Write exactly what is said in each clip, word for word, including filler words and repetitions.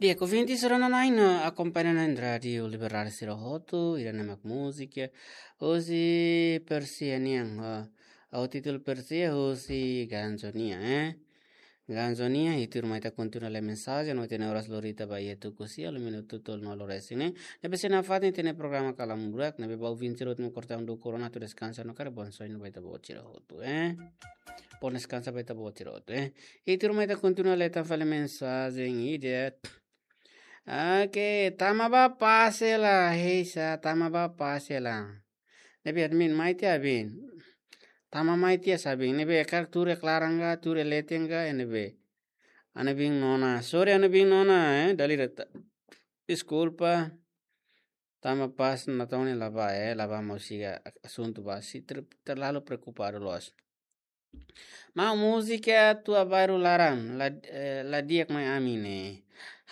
Di'ak, ouvinte sira-nia akompaña iha rádiu Liberdade sira hotu, ida-ne'e mak múzika husi Persia nian, ah, ho títulu Persia husi Ganzo nian, eh. Ganzo nian, i tuirmai ita kontinua lee mensajen, no ita-nia oras lori tiha ba iha tuku sia, lima minutu tolu no loresi ne'e. Ne'ebé sei nafatin ita-nia programa Kalam Burak, ne'ebé ba ouvinte sira hotu mak kortaun do korona atu deskansa no karik bon soin ba ita-boot sira hotu, eh. Bon deskansa ba ita-boot sira hotu, eh. I tuirmai ita kontinua lee tan fali mensajen ida. Oke, tama bá pase la, heisa, tama bá pase la. Ne'ebé admin mai tiha abin. Tama mai tiha sa abin. Ne'ebé karik tuur iha klaran ka, tuur iha leten ka, ne'ebé. Ana bin nona. Sorry, ana bin nona, eh, dala ida ta-, deskulpa. Tama pase la, tama ne'e la bá, eh, la bá, maun siga asuntu bá. Sei ter-, terlalu preokupadu loos. Maun, múzika Tua Bairru Laran, la, eh, la di'ak mai ami ne'e.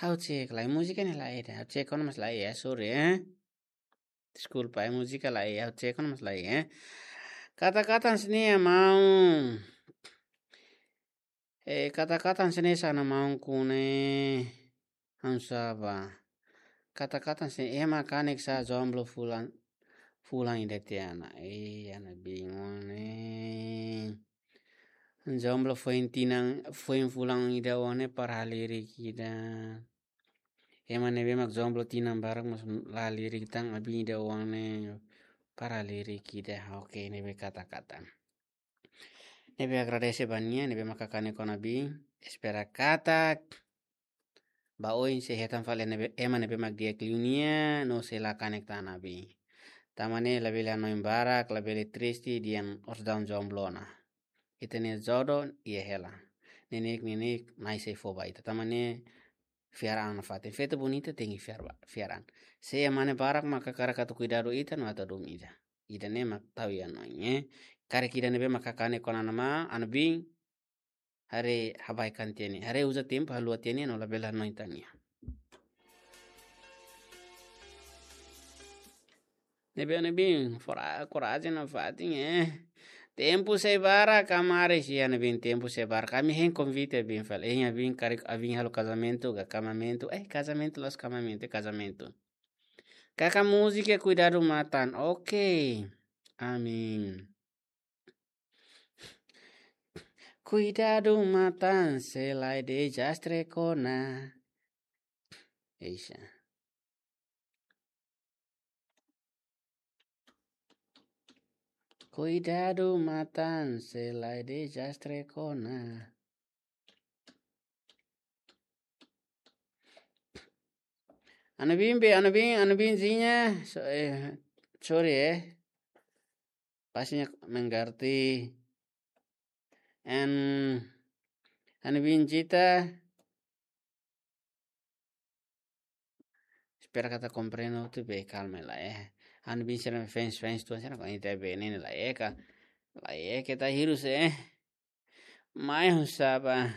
Ha'u cek lai, múzika ne'e laiha, ha'u cek ona mas laiha, sorry, eh. Deskulpa, eh, múzika laiha, ha'u cek ona mas laiha, eh. Kata-kata hanesan ne'e, maun. Eh, kata-kata hanesan ne'e, sá mak maun ko'alia, hanesan sá bá. Kata-kata hanesan ne'e, ema kanek sá jomblo fulan, fulan ida tiha ona. Eh, ana bin ne'e. Jomblo foin tinan, foin fulan ida ona para halerik ida. Ema ne'ebé mak jomblo tinan barak mas la halerik tan, abin ida ona para halerik ida. Oke, ne'ebé kata-kata. Ne'ebé agradese ba nia, ne'ebé mak kanek ona abin. Espera katak ba oin sei hetan fali ne'ebé, ema ne'ebé mak di'ak liu nia, no sei la kanek tan abin. Tanba ne'e labele hanoin barak, labele triste, dehan orsida jomblo ona. Ita-nia jodoh iha hela. Neineik, neineik, Na'i sei fó ba ita. Tanba ne'e fiar an nafatin. Feto bonita tenke fiar ba, fiar an. Se ema ne'e barak mak hakarak atu kuidadu ita no atu hadomi ita. Ida-ne'e mak tau iha hanoin, eh. Karik ida ne'ebé mak kanek ona maun, ana bin, haree habaikan tiha nia. Haree uza tempu haluha tiha nia, no labele hanoin tan nia. Ne'ebé ana bin, fora, korajen nafatin, eh. Tempu sei barak, kamaris, iha ana bin, tempu sei barak. Ami hein konvite abin fali. Eh, abin karik, abin halo kazamentu, ka kamamentu. Eh, kazamentu, loos, kamamentu, kazamentu. Kaka múzika Kuidadu Matan. Oke. Amin. Kuidadu matan, sei la iha dezastre kona. Eixa. Kuidadu matan, sei la iha dezastre kona. Ana bin be, ana bin, ana bin Zinha, so-, eh, sorry, eh. Pastinya mengerti. En, ana bin Zita, espera katak komprende hotu be, kalma la, eh. Ana bin sira fans, fans tuan sira ko inte be ne'e la, eh, ka. La, eh, kita hirus, eh. Mai husi sá bá.